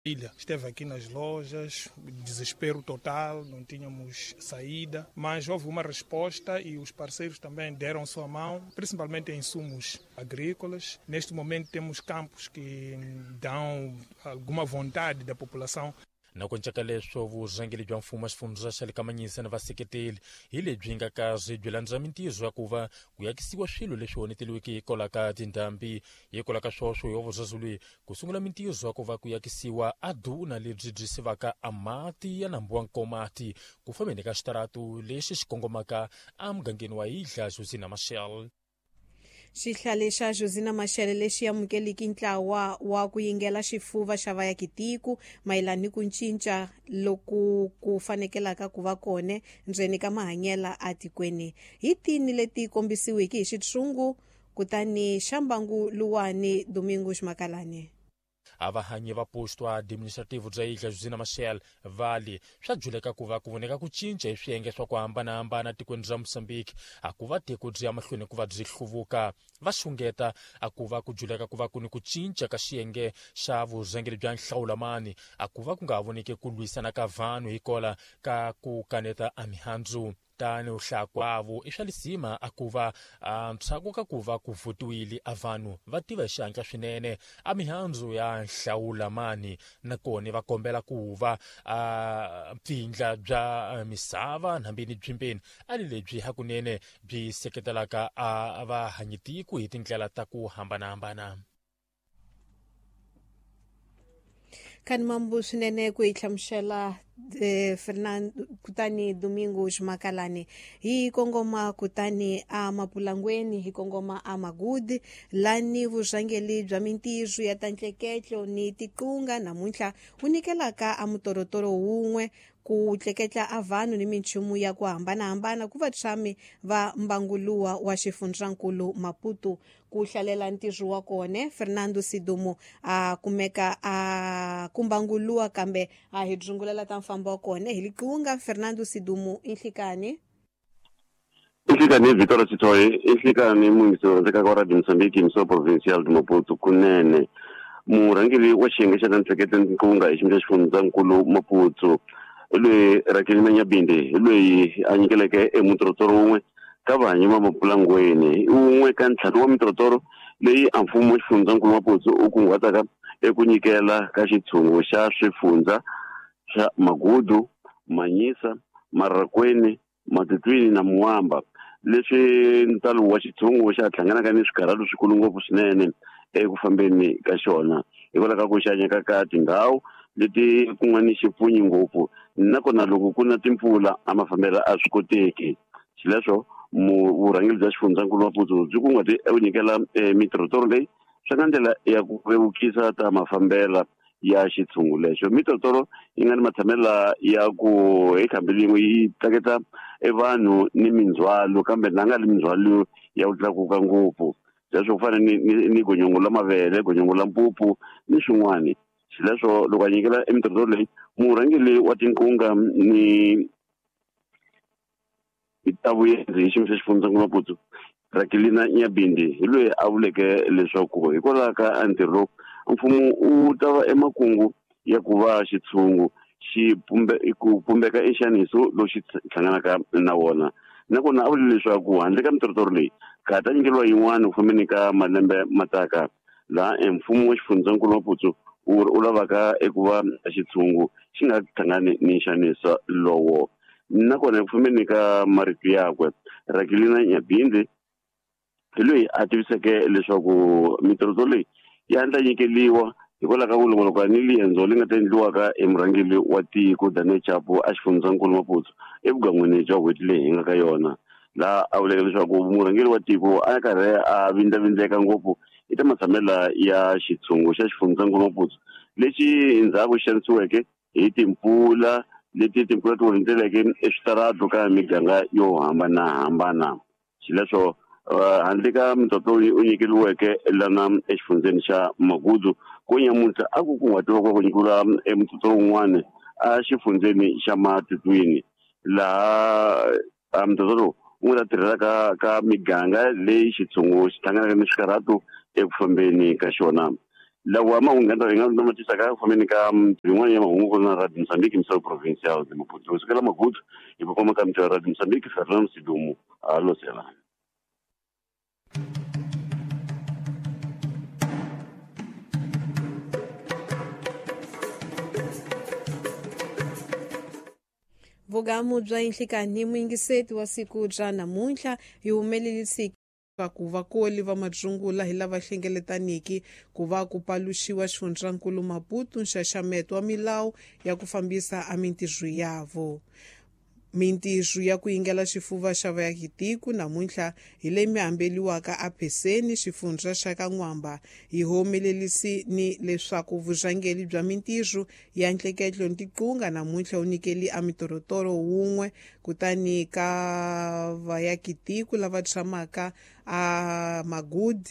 Ilha esteve aqui nas lojas, desespero total, não tínhamos saída, mas houve uma resposta e os parceiros também deram sua mão, principalmente em insumos agrícolas. Neste momento temos campos que dão alguma vontade da população. Na ku cinca ka leswo vurhangeri bya mfumo xifundza xa le ka Manyisa na vaseketeli hi lebyi nga kahle byi landza mintirho ya ku va ku yakisiwa swilo leswi onheteliweke hikwalaho ka tindhambi. Hikwalaho ka swoswo hi vurhangeri leyi ku sungula mintirho ya ku va ku yakisiwa a duna lebyi byi sivaka a mati ya nambu wa Nkomati ku fambeni ka xitaratu lexi xi kongomaka emugangeni wa Idla Josina Machel. Xihlale xa Josina Machel lexi amukeliki ntlawa wa ku yingela xifuva xa vayakitiko mayelana ni ku cinca loku ku fanekelaka ku va kona ndzeni ka mahanyela atikweni hi tini leti kombisiweke hi xitshungu kutani xa mbangu luwani Domingos Makalani. A vahanyi va posto administrativo bya Ilha Josina Machel vali swa juleka ku va ku voneka ku cinca hi swiyenge swa ku hambanahambana tikweni ra Mozambique a ku va tiko byi ya mahlweni ku va byi hluvuka. Va xungeta a ku va ku juleka ku va ku ni ku cinca ka xiyenge xa vurhangeri bya nhlawulamani a ku va ku nga voneki ku lwisana ka vanhu hikola ka ku kaneta a mihandzu. Tani hlakwavo i swa lisima a ku va ntshaku ka ku va ku votiwile a vanhu va tiva hi xihatla swinene a mihandzu ya nhlawulamani nakona va kombela ku va a pfindla bya misava nambini byimbeni a li lebyi hakunene byi seketelaka a vahanyitiko hi tindlela ta ku hambanahambana. Khani mambu swinene ku hi hlamusela Fernando kutani Domingos Makalani. Hi kongoma kutani a Mapulangweni, hi kongoma a Magudi lani vurhangeri bya mintirho ya ta ntleketlo ni tiqunga namuntlha wu nyikelaka a mutorotoro wun'we ku tleketla a vanhu ni minchumu ya ku hambanahambana ku vatshami va mbanguluwa wa xifundzankulu Maputo. Ku hlalela ntirho wa kona Fernando Sidumo a kumeka a kumbanguluwa kambe a hi dzungulela ta mfambo wa kona hi liqunga. Fernando Sidumo, inhlikani inhlikani Vitória Chitoyi, inhlikani mungiso ndzi ka Radio Mozambique mso provincial de Maputo kunene. Murhangeri wa xiyenge xa ntleketlo nkunga hi xiyimo xa xifundzankulu Maputo loyi Rakelina Nyabinde hi loyi a nyikeleke emutorotoro wun'we ka vahanyi va Mapulangweni, wun'we ka ntlhanu wa mitorotoro leyi a mfumo wa xifundzankulu Maputo u kunguhataka eku nyikela ka xitshungu xa swifundza swa Magudu, Manyisa, Marrakweni, Matutwini na Muamba, leswi ntalo wa xitshungu xa hlanganaka ni swikarhalo swikulu ngopfu swinene eku fambeni ka xona hikwalaho ka ku xanyeka ka tindhawu leti ku nga ni xipfunyi ngopfu nakona loko ku na timpfula a mafambelo a swi koteki. Xileswo vurhangeri bya xifundzankulu Maputo byi kunguhate eku nyikela mitorotoro leyi swi nga ndlela ya ku vevukisa ta mafambela ya xitshungu lexo. Mitorotoro yi nga ni matshamelo ya ku hi khambi lin'we yi tleketla evanhu ni mindzhwalo, kambe na nga li mindzhwalo ya ku tlakuka ngopfu, leswo ku fana ni gonyongo la mavele, gonyongo la mpupu ni swin'wani. Xileswo loko a nyikela emitorotoro leyi murhangeri wa tinkunga ni ta vuyendzi hi xiyimo xa xifundzankulu Maputo Rakelina Nyabinde hi loyi a vuleke leswaku hikwalaho ka ntirho lowu mfumo wu ta va emakungu ya ku va xitshungu xi ku pumbeka enxaniso lowu xi hlanganaka na wona. Nakona a vule leswaku handle ka mitorotoro leyi ka ha ta nyikeriwa yin'wana ku fambeni ka malembe mataka laha mfumo wa xifundzankulu Maputo wu lavaka eku va xitshungu xi nga hlangani ni nxaniso lowo. Nakona eku fambeni ka marito yakwe Rakelina Nyabinde hi loyi a tiviseke leswaku mitorotoro leyi ya ndla nyikeliwa hikwalaho ka ku longoloka ni liendzo leri nga ta endliwaka hi murhangeri wa tiko Daniel Chapo a xifundzankulu Maputo evugan'wini bya n'hweti leyi hi nga ka yona, laha a vuleke leswaku murhangeri wa tiko a karhi a vindlavindleka ngopfu hi ta matshamelo ya xitshungu xa xifundzankulu Maputo lexi endzhaku xi xanisiweke hi timpfula leti timpfula ti onheteleke eswitaratu ka miganga yo hambanahambana. Xileswo handle ka mitorotoro u nyikeriweke lana exifundzeni xa Magudu ku nyamuntlha a ku kunguhatiwa ku nyikeriwa emutorotoro wun'wana a xifundzeni xa Matutwini, laha mutorotoro wu nga ta tirhela ka miganga leyi xitshungu xi hlanganaka ni swikarhatu eku fambeni ka xona. Lawa mahungu hi nga ma tisaka ku fambeni ka yin'wana ya mahungu na Radio Mozambique Misau Provincial de Maputo. Kusukela Magudu hi ku koma ka mutwa Radio Mozambique, Fernando Sidumo a losela. Vugamu bya Inhlikani muyingiseti wa siku bya namuntlha hi humelelisi ku vakoli va madzungula hi lava hlengeletaniki ku va ku paluxiwa xifundzankulu Maputo nxaxameto wa milawu ya ku fambisa a mintirho yavo. Mintirho ya ku yingela xifuva xa vaakitiko namuntlha hi leyi mi hambeliwaka a Pheseni xifundza xa ka N'wamba hi humelelisi ni leswaku vurhangeri bya mintirho ya ntleketlo ni tiqunga namuntlha wu nyikeli a mitorotoro wun'we kutani ka vaakitiko lava tshamaka a Magudi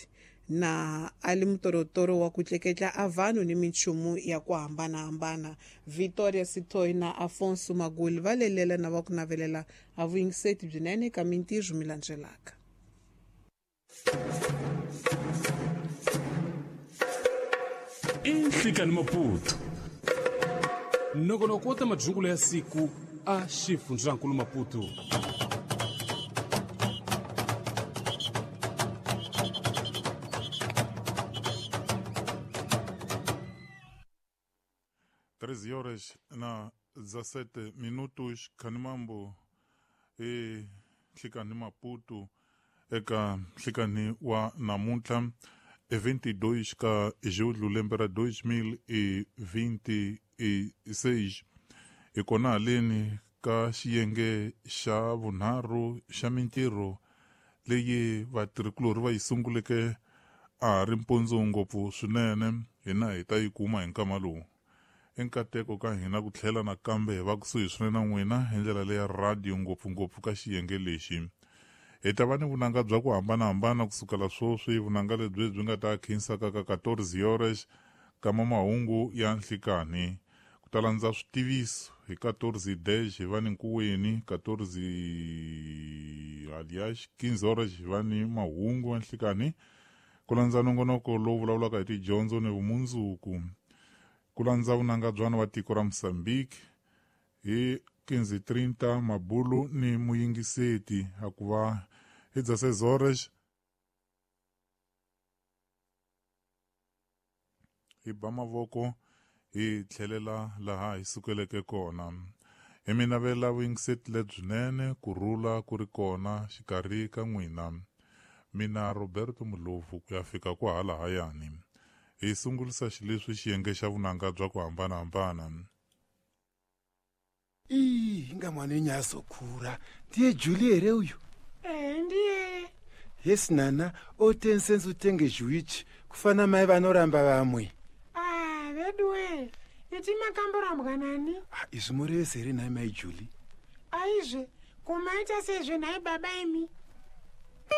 na ali mutorotoro wa ku tleketla a vanhu ni minchumu ya ku hambanahambana. Victoria Sithoi na Afonso Maguli va lelela na va ku navelela a vuyingiseti byinene ka mintirho mi landzelaka. Inhlikani Maputo nongonoko wa ta madzungulo ya siku a xifundzankulu Maputo. Treze horas na 17 minutos Khanimambo e Nhlikani Maputo eka Nhlikani wa namuntlha e 22 ka julho lembe ra 2026 hi kona haleni ka xiyenge xa vunharhu xa mintirho leyi vatirhikulorhi va yi sunguleke a ha ri mpundzu ngopfu swinene hina hi ta yi kuma hi nkama lowu. Enkateko ka hina ku tlhela nakambe hi va kusuhi swinene na n'wina hi ndlela leya radio ngopfungopfu ka xiyenge lexi. Hi ta va ni vunanga bya ku hambanahambana kusukela sweswi, vunanga lebyi byi nga ta khinsaka ka 14 horas kama mahungu ya nhlikani. Ku ta landza switiviso hi 14:10 hi va ni nkuweni, 14 alias 15 horas hi va ni mahungu ya nhlikani. Ku landza nongonoko lowu vulavulaka hi tidyondzo ni vumundzuku. Ku landza vunanga byana wa tiko ra Mozambique hi 15:30 mabulu ni muyingiseti akuva hi 16 horas hi ba mavoko hi tlhelela laha hi sukeleke kona. Hi mi navela vuyingiseti lebyinene, ku rhula ku ri kona xikarhi ka n'wina. Mina Roberto Mulovu ku ya fika kwahalahayani. Hi sungulisa xileswi xiyenge xa vunanga bya ku hambanahambana. Inga mwana wenyazokura ndiye Julie here uyu? Ndiye. Yes nana, otensense utenge zhuichi kufana mai vanoramba vamwe. Veduwe, iti makamborambwa nani? Izvi murevese here nhai mai Julie? Aizve, kumaita sezve nhai baba imi.